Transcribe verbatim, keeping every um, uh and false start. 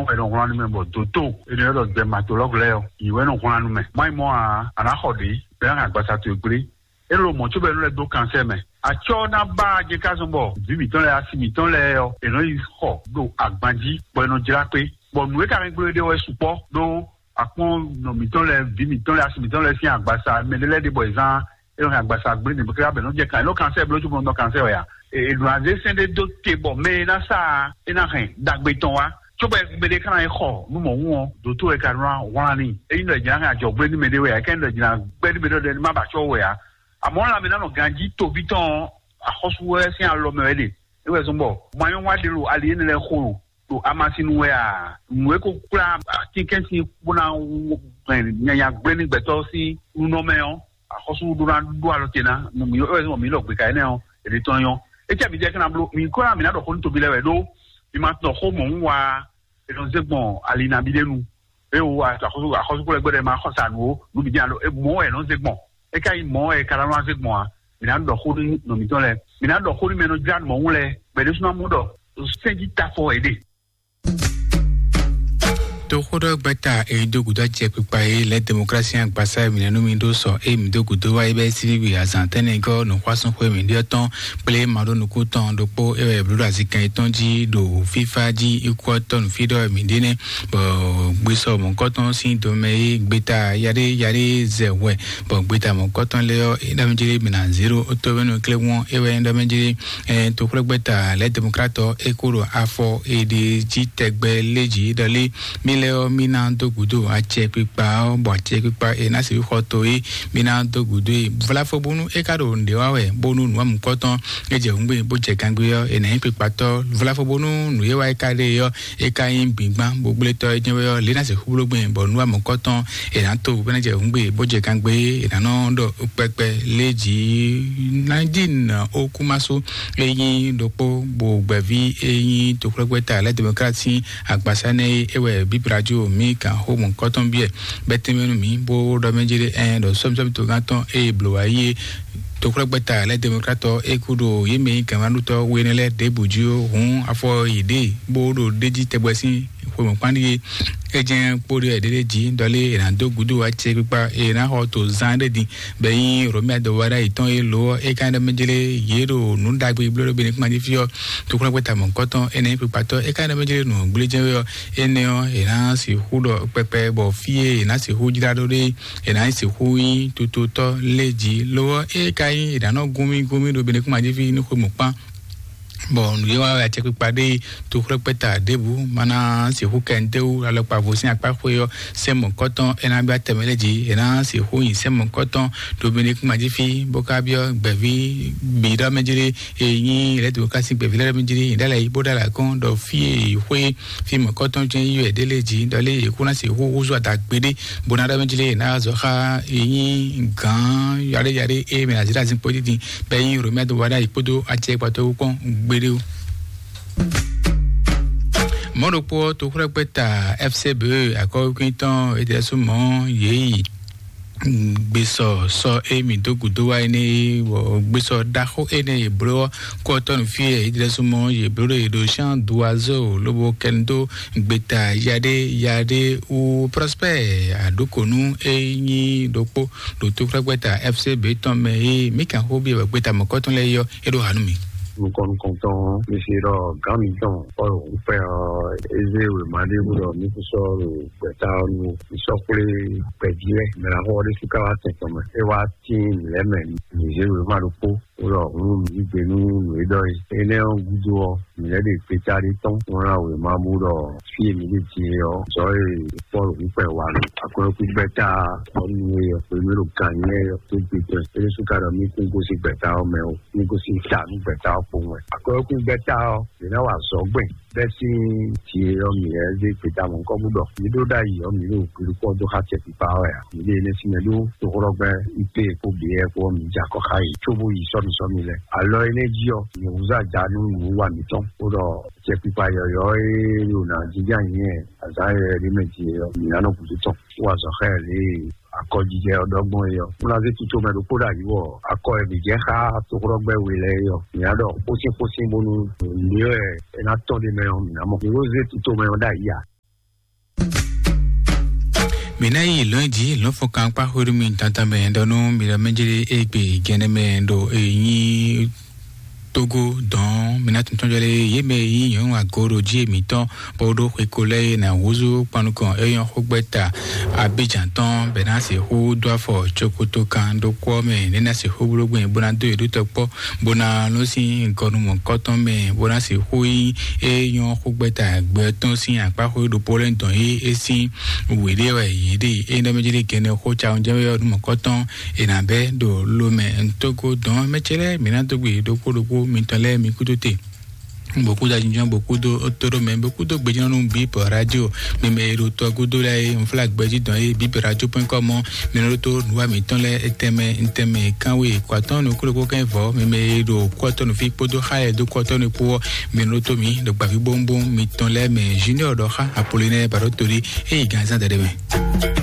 Ɔ́, è nɔ wlán nú mɛ bɔ dǒtó è nɔ ylɔ́ ɖɔ dermatologue lɛ́ɛ ɔ́, yě wɛ nɔ wlán nú mɛ. Má nyí mɔ̌ ǎ, a nǎ xɔ ɖě, bɔ é ná hɛn agbaza towe gblé. É ɖo mɔ̌ cóbɔ è nɔ lɛ́ dó kansɛ́ mɛ. Acɔ́ ná bá a jɛ ká zɔn bɔ vǐ mǐtɔn lɛ́ɛ, asi mǐtɔn lɛ́ɛ ɔ́, è nɔ yi xɔ ɖo agban jí, bɔ è nɔ jlá kpé. Bɔ nǔ e ka hɛn gblé ɖe ɔ́ wɛ sukpɔ́ ɖó akpɔ́n nɔ mǐtɔn lɛ́ɛ, vǐ mǐtɔn lɛ́ɛ, asi mǐtɔn lɛ́ɛ sín agbaza, mɛ ɖé lɛ́ɛ ɖe bɔ è zán é nɔ hɛn agbaza gblé nǐ bó ká bɛ̌ nɔ jɛ kan, é nɔ kansɛ́ bló cóbɔ nɔ kansɛ́ wɛ ǎ. È nɔ azé sɛ́n ɖé dó te bɔ mɛ e ná sa ǎ, é ná hɛn ɖagbe tɔn wá. Cóbɔ mɛ ɖé ka ná yi xɔ nú mɔ̌ wún ɔ́, dǒtó wɛ ka nɔ wlán n'i. Ényí ɖɔ è jǐ ná hɛn ajɔ̌gblénu mɛ ɖé wɛ ǎ, é ká nyí ɖɔ è jǐ ná gbɛ́ nú mɛ ɖé ɖɔ má ba acɔ́ wɛ ǎ. Amɔ̌, lanmɛ ná nɔ ganjí toví tɔn ɔ́, axɔ́sú wɛ sín alɔ mɛ wɛ é ɖe. É wɛ zɔ́n bɔ manyɔ́wa ɖé ɖo ali énɛ́ lɛ́ɛ xo ɖo ɖo amasin nu wɛ a? Nǔ e ko kplá atínkɛn sín bó ná hɛn nyanya gblé ní gbɛtɔ́ sín nunɔ mɛ ɔ́, axɔ́sú ɖó ná ɖó alɔ te ná nú mǐ, é wɛ zɔ́n bɔ mǐ lɔ gbe ka énɛ́ ɔ́, è ɖe tɔn nyɔ́. É cɛ mi jɛ kí ná bló, mǐ kó ná mǐ ná ɖɔ xó nú toví lɛ́ɛ wɛ ɖó mi ma tunɔ xó mɔ̌ wún wá. È nɔ zé gbɔn ali nabí ɖé nu. É wo axɔ́sú, axɔ́sú kplɔ́ gbɛdɛ ma xɔ sa nǔ ó, nǔ bǐ jɛ alo mɔ̌ wɛ è nɔ zé gbɔn. É ka nyí mɔ̌ wɛ è ka ná nɔ zé gbɔn a? Mǐ ná ɖɔ xó nú nɔ mǐtɔn lɛ́ɛ. Mǐ ná ɖɔ xó nú mɛ e nɔ jlá nǔ mɔ̌ wún lɛ́ɛ, bɔ è ɖésú ná mɔ ɖɔ sɛ́n jí tafɔ è ɖe. Toxoɖɔgbɛ́ta e dó gǔdo acɛ kpikpa e lɛ́ demokrasi agbasa e mǐ nɛ́ nú mi ɖó sɔ e mǐ dó gǔdo wá é bɛ́ síbígbe azǎn tɛ́nnɛgɔ́ nǔxwásúnxwé mǐɖíɔ́ tɔn kplé maɖónukú tɔn ɖokpó é wɛ bló ɖo azinkɛn yětɔn jí ɖo fífá jí ikú ɔ́ tɔn nǔfí ɖɔ mǐ ɖe nɛ́. Bɔ gbesɔ mɔ̌kɔtɔn sín domɛ e gbeta yaɖé yaɖé zɛ hwɛ, bɔ gbeta mɔ̌kɔtɔn lɛ́ɛ ɔ́ é ɖɔ mɛ jlé mǐ ná zéro tóbɛ́nú kléwɔn é wɛ é ɖɔ mɛ jlé. Toxwlɛ́gbɛ́ta lɛ́ demokratɔ é kó ɖo afɔ è ɖe jí tɛgbɛ lé jí ɖɔ lé. Mí lɛ́ɛ ɔ́, mí ná dó gǔdo acɛ kpikpa ɔ́, bɔ acɛ kpikpa è nǎ sixú xɔ to é mí ná dó gǔdo é. Vlafo bónú é ka ɖo nǔɖé wa wɛ, bónú nǔ wa mukɔtɔn é jɛ hǔngbe bó jɛ gangbé ɔ́, è nǎ nyí kpikpatɔ́. Vlafo bónú nǔ é wa é ka ɖe ɔ́, é ka nyí bǐgbán bó gblé tɔ́ é jɛ́n wɛ ɔ́, lě ná sixú bló gbɛn bɔ nǔ wa mukɔtɔn è nǎ to bó ná jɛ hǔngbe bó jɛ gangbé, è nǎ nɔ ɖɔ kpɛkpɛ lé jí. Nadine Okumaso, e nyí ɖokpó bo gbɛ̌ví e nyí toxwlɛ́gbɛ́ta lɛ́ demokrat sín agbasá nɛ́ é, é wɛ bíbrajo mǐ kan xó mɔ̌kɔtɔn biɛ bɛ́ tɛ́nmɛ nú mǐ bó ɖɔ mɛ jí ɖé ɛn ɖɔ sɔ́mísɔ́mí togán tɔn e blǒ wá yi é. Toxwlɛ́gbɛ́ta lɛ́ demokrat ɔ́ é kú ɖo yě mɛ nyí gǎnmánútɔ́ we énɛ́ lɛ́ɛ ɖěbǔ jí ó, hǔn afɔ yě ɖe bó ɖo ɖ'é jí tɛgbɛ sín xwe mɔ̌kpán ɖíe. É jɛ́n kpóɖó wɛ ɖéɖé jí ɖɔlé è nǎ dó gúdo acɛ kpikpa è nǎ xɔ to zán ɖé din. Bɛ nyí Romia dɔwara yětɔn e lo ɔ́, é ka ɖɔ mɛ jlé yě ɖo nǔ ɖagbe bló ɖo Benɛkúma jí fí ɔ́, toxlɔ́gbɛ́ta mɔ̌kɔtɔn énɛ́ kpikpatɔ́ é ka ɖɔ mɛ jlé nǔ gblé jɛ́n wɛ ɔ́, énɛ́ ɔ́ è nǎ sixú ɖɔ kpɛkpɛ bɔ fí e è nǎ sixú jlá ɖó ɖé, è nǎ sixú nyí tutotɔ́ lé jí lo ɔ́, é ka nyí è nǎ nɔ gúnmí gúnmí ɖo Benɛkúma jí fí ní xwe mɔ̌kpán. Bɔ nǔ e wa wɛ acɛkpikpa ɖe toxlɔ́kpɛ́ta ɖěbǔ ma ná sixú kɛ ntɛ́ wú alɔkpa vo sín akpá xwe ɔ́, sɛ́n mɔ̌kɔtɔn é ná byɔ́ atɛmɛ lɛ́ɛ jí, é ná sixú nyi sɛ́n mɔ̌kɔtɔn Dominik Majifi bó ka byɔ́ gbɛ̌ví bǐ ɖɔ mɛ jlé e nyí lɛ̌ demokrasi gbɛ̌ví lɛ́ɛ mɛ jlé, yě ɖalɛ yí bó ɖalɛ akɔ́n ɖɔ fí e xwé fí mɔ̌kɔtɔn jɛ́n yí wɛ ɖé lé jí, ɖɔ lé yě kó ná sixú húzú ada gbeɖé bó ná ɖɔ mɛ jlé yě ná zɔ xá e nyí gǎn yaɖé yaɖé e mɛ azǐɖazín kpó dídin. Bɛ nyí Romia do wa ɖ'ayǐ kpódó acɛ gbàtɔ́wú kpɔ́n gbeɖé ó. Mɔ̌ ɖokpó ɔ́, toxlɔ́kpɛ́ta F C B akɔ́wékwín tɔn é ɖɛ́ sú mɔ̌ yě yi gbèsɔ sɔ émi dó gǔdo wá énɛ́, bɔ gbèsɔ ɖaxó énɛ́ yě bló ɔ́, kó ɔ́ tɔ́ nǔ fí é é ɖɛ́ sú mɔ̌ yě bló ɖo yě ɖo Jean Doiseau lobo kɛnu dó gbeta yaɖé yaɖé wú Prosper Aɖukonu é nyí ɖokpó ɖo toxlɔ́kpɛ́ta F C B tɔn mɛ e mǐ kan xó byɔ́ gbeta mɔ̌kɔtɔn lɛ́ɛ é ɔ́, é ɖó ha nú mì. Nukɔn nukɔntɔn mi se ɖɔ gǎn mitɔn Pɔ́lu ŋkpɛ ɔ́, é zé wěma ɖé bó ɖɔ mí kún sɔ́ ɖo gbɛ̌ta ɔ́ nu. Mǐ sɔ́ kplé gbɛ̌ví lɛ́ɛ, mɛ ná xɔ ɔ́ ɖésú ká wá tɛn tɔn mɛ. É wá tín mǐ lɛ́ɛ mɛ, mǐ zé wěma ɖokpó bó ɖɔ hǔn mǐ yí gbe nú nǔ e ɖɔ é. Énɛ́ ɔ́ gúdo ɔ́, mǐ lɛ́ ɖe gbeta ɖé tɔn, bó ná wěma bó ɖɔ fí e mǐ ɖe din é ɔ́, zɔ̌ e Pɔ́lu ŋkpɛ wa ɖo aklɔ́kúgbɛ́ta ɔ́ nu é ɔ́, xwé mí ɖo gǎn nyí é ɔ́, tó gbe tɔn. É ɖésú ka ɖɔ mí kún gosín gbɛ̌ta ɔ́ mɛ ó, mí gosín ta nú gbɛ̌ta ɔ́ kpowun wɛ. Aklɔ́kúgbɛ́ta ɔ́, yě ná wa azɔ̌ gbɛn bɛ́ sín jǐ e ɔ́ mǐ lɛ́ zé gbeta mɔ̌hunkɔtɔn bó ɖɔ mǐ ɖó ɖ'ayǐ ɔ́, mǐ ɖo gbeɖokpɔ́ dó xá acɛkpikpa ɔ́ wɛ a? Mǐ ɖe énɛ́ sín mɛ ɖó toxlɔ́gbɛ́ I P E kpó B E kpó ɔ́, mǐ jɛ akɔ xá yě cóbó yi sɔ́ nǔ sɔ́ mì lɛ́ɛ. Alɔ énɛ́ jí ɔ́, mǐ húzú aja nú nǔwiwa mǐtɔn, bó ɖɔ acɛkpikpa yɔ̌yɔ́ e ɖo nǎ jínjɔ́n ayǐ nyi azǎn yɔ̌yɔ́ ɖé mɛ din é ɔ́, mǐ ná nɔ gǔdo tɔn, bó wa azɔ̌ xá ɛ lě e akɔjijɛ ɔ́ ɖɔ gbɔn é ɔ́. Bó ná zé tutomɛ ɖokpó ɖo ayǐ wɔ akɔ e mǐ jɛ xá toxlɔ́gbɛ́ we lɛ́ɛ é ɔ́, mǐ ná ɖɔ xósínxósín bónú nǔ e wɛ é ná tɔ́n ɖ'é mɛ ɔ́, mǐ ná mɔ. Mǐ ko zé tutomɛ ɔ́ ɖ'ayǐ ǎ. Mǐ ná yi lɔ̌n jí lɔ̌nfɔ́nkan kpá xwéɖú mì tantan mɛ ɖɔ nú mi ɖɔ mɛjlí égbé gɛnɛ mɛ ɖo ènyí Togo dɔn mǐ ná tuntun jɔ lé yé mɛ yí nyɔ̌nu agoro jí mǐtɔn bó ɖó xweko lɛ́ɛ ná húzú kpanukɔn é nyɔ́ xógbɛ́ta Abidjan tɔn bɛ ná sixú dó afɔ cokoto kan ɖó kpɔ́ mɛ né ná sixú bló gbɛn bó ná dó yě ɖó tɔkpɔ́ bó ná lɔ́n sín gɔnumɔ̌kɔ́tɔn mɛ bó ná sixú nyí é nyɔ́ xógbɛ́ta gbɛ tɔn sín akpáxwé ɖokpó lɛ́ɛ dɔn yí é sín wěɖé wɛ yě ɖe é nɔ mɛ jí ɖe gɛnɛ xó ca ɔ́ jɛ́n wɛ ɔ́ numɔ̌kɔ́tɔn è nǎ bɛ́ ɖo lomɛ ntoko dɔn mɛ ce lɛ́ɛ mǐ ná dó gbe ɖokpó ɖokpó mitɔn lɛ́ɛ mi kúdó te. Bokudo ajínjɔ́n bokudo tóɖó mɛ bokudo gbejínɔ́nú bíbɔ radio mímɛ e ɖo tɔ gúdo lɛ́ɛ e nfla gbɛjí dɔn e bíbɔ radio point com mɔ mɛ ɖó tó nǔwa mǐtɔn lɛ́ɛ etɛmɛ ntɛmɛ kánwé kɔatɔn nukúlukú kɛn vɔ mímɛ e ɖo kɔtɔnu fí kpódó xa e dó kɔtɔnu kpó mɛ ɖó tó mǐ ɖo gbàgbé bóńbóń mǐtɔn lɛ́ɛ mɛ junior ɖɔ xa Apollinaire Barotoli e yi gǎnzán dɛɖɛ mɛ.